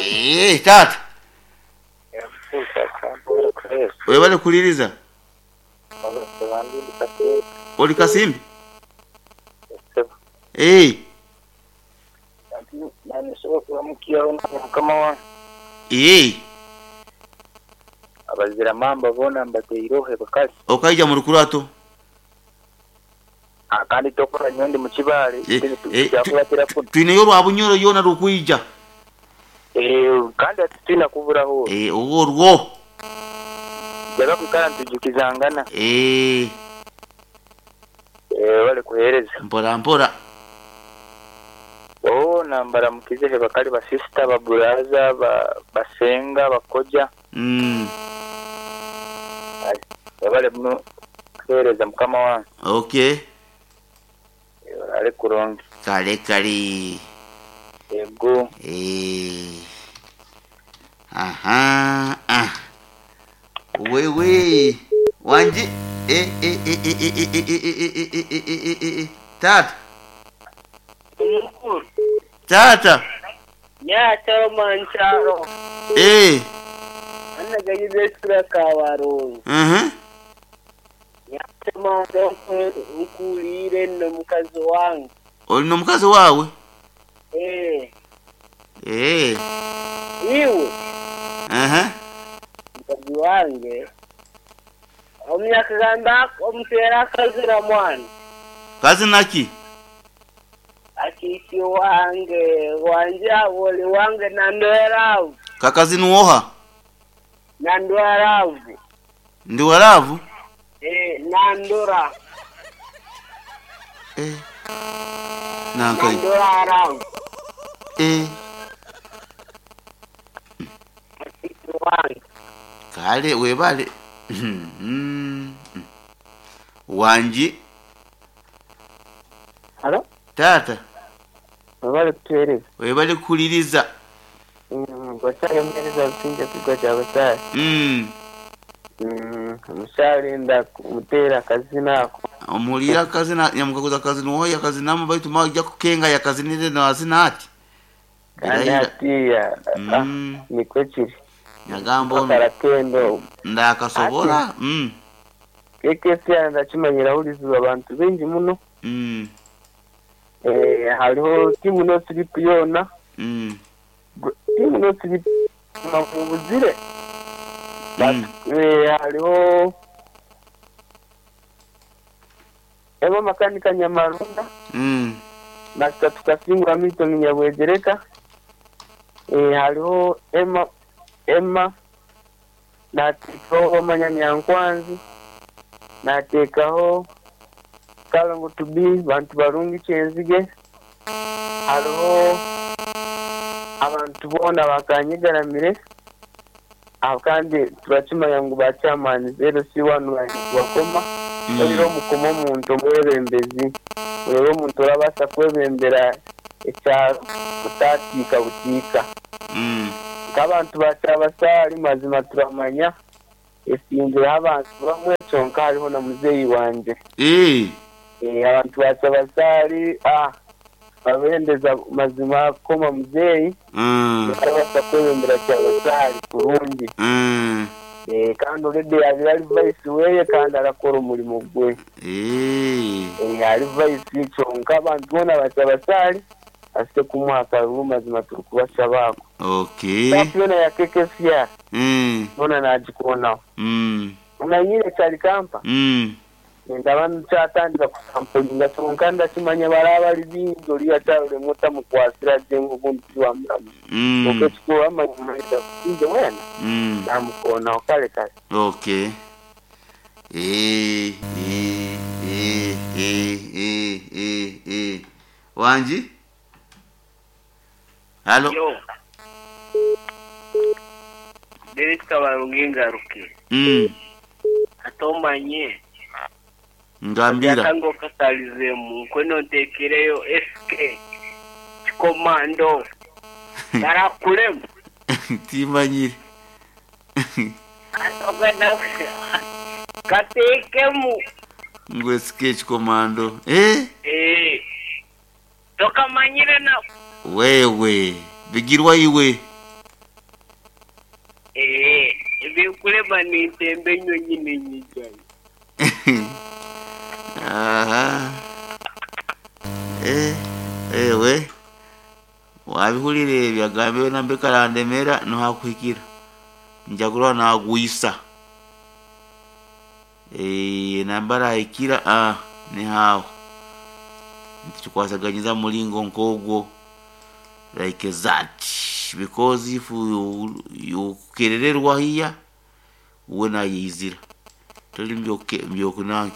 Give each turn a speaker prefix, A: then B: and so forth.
A: Eeh taata. Webale kuwuliriza. Oli Kasimbi? Eeh. Eeh.
B: Abazira mamba boona mbateireho ebikari.
A: Okaija mu rukurato.
B: Kandi tokora nyowe ndi mu Kibaale tikyakuratira kunu.
A: Twineyo orwa Bunyoro yoona rukwija.
B: Kandi hati titwina kuburaho orwo.
A: Orwo.
B: Njaga kwikara nitwijukizangana. Webale kuhereza.
A: Mpora mpora.
B: Boona mbaramukize he bakali ba sisita, ba buraza, ba senga, ba koja. Webale muno kuhereza mukama wange.
A: Ok.
B: Oraare kurungi.
A: Kale kale.
B: Yego.
A: Eeh. Aha. Ah. Wewe. Wangi. Eh eh eh eh eh eh eh eh eh eh eh eh eh eh eh. Taata.
C: Omukuru.
A: Taata.
C: Nyakyaro mankyaro.
A: Eeh.
C: Anagayiza esura kabarungi.
A: Mhm.
C: Nyakyaro nkuliire n'omukazi wange.
A: Oli n'omukazi waawe?
C: Eeh.
A: Eeh.
C: Iwe.
A: Aha.
C: Mukazi wange. Omunyakigamba omuteera akazira mwana.
A: Kazina ki?
C: Akiiki wange wanje abo oli wange nandweravu.
A: Kakazina oha?
C: Nandweravu.
A: Ndi waravu?
C: Eh, nandura.
A: Eh. Nankai.
C: Nandura aravu.
A: Eh.
C: Akiiki wange.
A: Kale webale. Wangi.
D: Halo?
A: Taata.
D: Webale kutuweereza.
A: Webale kuwuliriza.
D: Gwakyali omuheereza Businge Kigwa kya Basaale. Omukyala enda kumuteera akazina ako.
A: Omuwulire akazina nyamukaguza akazina oho yakazinamu baitu maija kukenga yakazinire nazina ati.
D: Kandi
A: Birahira.
D: hatiya nikwo kiri.
A: Nyagamba ono
D: Akarakendo.
A: ndakasobola.
D: KKCR ndakimanyira ahurizibwa abantu baingi muno. Hariho tiimu no sleep yoona. Tiimu no sleep mubuzire. Hariho Emma Makanika Nyamarunda. Master Tukasingura Milton Nyabwegereka. Hariho Emma Emma nateekaho Omanya Nyankwanzi, nateekaho Kalongo to be bantu barungi Kyenzige, hariho abantu boona bakanyegaramire kandi turakimanya ngu ba chairman LC1 bakoma orire omukoma omuntu omwebembezi orebe omuntu orabaasa kwebembera ekyaro otatiika butiika. Nk'abantu ba Kyabasaari mazima turamanya esingireho abantu bamwe kyonka hariho na muzeeyi wangye. Abantu ba Kyabasaari babendeza mazima kukoma muzeeyi arabaasa kwebembera Kyabasaari kurungi. Kandi already yabaire ari vice weye kandi arakora omurimo gwe. Ari vice kyonka abantu boona ba Kyabasaari asite kumuha akaruru mazima turikubashaba ako. Staff yoona ya KKCR yoona nagikonaho. Omanyire Kyarikampa nindaba nkyatandika kusampulinga kyonka ndakimanya baraba bari baingi oriya akyaruremwa otamukwasira gye ngu obundi tiwamuramu. Kwonka ekikuru amazima kusinge weena namukonaho kare kare.
A: Okay. Eh, eh, eh, eh, eh, eh. Wangi? Halo.
C: Yo. David Kabarungi ngaruke. Atomanye.
A: Ngambira.
C: Yatango katalizemu nkweno ntekereyo SK. Komando. Karakulemu.
A: Timanyire.
C: Atogana. Katekemu.
A: Ngwe SK Komando. Eh?
C: Eh. Tokamanyire na
A: Wewe bigirwa iwe.
C: Ndikulema nintemba enyonyi ninyijayo.
A: Aha. Eh, ewe wabihurira ebyo agambe nambe karandemera nohakuhikira nja kurora nagwisa. Eh, namba arahikira nihaho nitukikwasaganyiza mulingo nkogwo like that, because if you kerererwa hiya we nayizira toli mbyokunanki.